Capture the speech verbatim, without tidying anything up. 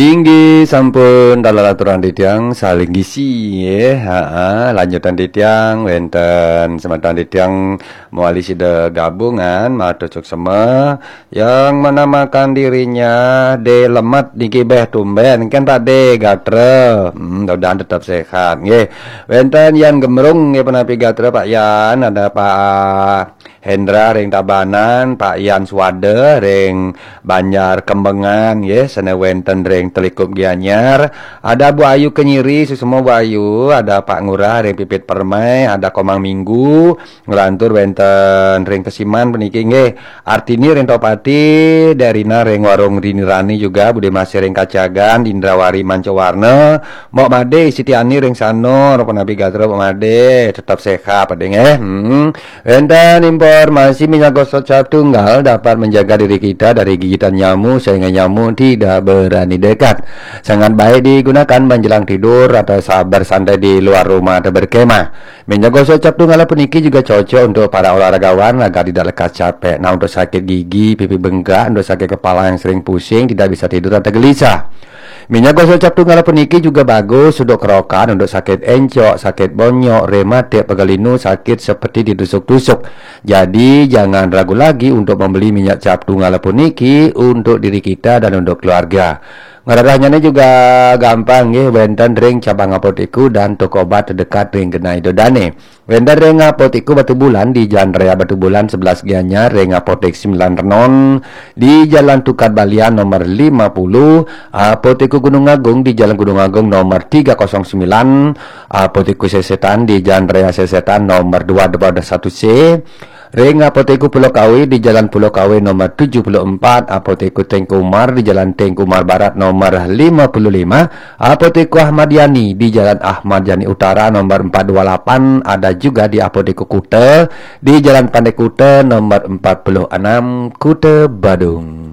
Inggih sampun, dalam aturan titiang saling gisi, nggih. Ha, lanjutan titiang wenten semeton titiang mewali sida gabungan matur suksema yang menamakan dirinya De Lemet niki beh tumben kan Pak De gatra. Hmm, mudah-mudahan tetap sehat nggih. Wenten Yan Gemrung nggih, punapi gatra Pak Yan, ada Pak Hendra ring Tabanan, Pak Yan Swada ring Banjar Kembengan nggih, sane wenten ring Telikup Gianyar. Ada Bu Ayu Kenyiri, suksema Bu Ayu, ada Pak Ngurah ring Pipit Permai, ada Komang Minggu, nglantur wenten ring Kesiman puniki nggih. Artini ring Topati, Derina ring Warung Rini Rani juga, Bude Masih ring Kacagan, Indrawari Mancawarna, Mbok Made Sitiani ring Sanur, punapi gatra Mbok Made, tetap sehat Pak De nggih. Hmm. Wenten informasi minyak gosok cap tunggal dapat menjaga diri kita dari gigitan nyamuk sehingga nyamuk tidak berani dekat. Sangat baik digunakan menjelang tidur atau saat bersantai di luar rumah atau berkemah. Minyak gosok cap tunggal puniki juga cocok untuk para olahragawan agar tidak lekas capek. Nah, untuk sakit gigi, pipi bengkak, untuk sakit kepala yang sering pusing, tidak bisa tidur atau gelisah. Minyak gosok cap tunggal puniki juga bagus untuk kerokan, untuk sakit encok, sakit bonyok, rematik, pegal linu, sakit seperti ditusuk-tusuk. Jadi, jangan ragu lagi untuk membeli minyak cap tunggal puniki untuk diri kita dan untuk keluarga. Ngrerehnyane juga gampang nggih, wenten ring cabang apotek dan toko obat terdekat ring genah ida dane. Wenten ring Apotek Batubulan di Jalan Raya Batubulan sebelas Gianyar, ring Apotek Sembilan Renon di Jalan Tukad Balian nomor lima puluh, Apotek Gunung Agung di Jalan Gunung Agung nomor tiga kosong sembilan, Apotek Sesetan di Jalan Raya Sesetan nomor dua dua satu C, ring Apotek Pulau Kawe di Jalan Pulau Kawe nomor tujuh puluh empat, Apotek Tengku Umar di Jalan Tengku Umar Barat nomor lima puluh lima, Apotek Ahmad Yani di Jalan Ahmad Yani Utara nomor empat dua lapan, ada juga di Apotek Kuta di Jalan Pantai Kuta nomor empat puluh enam, Kuta Badung.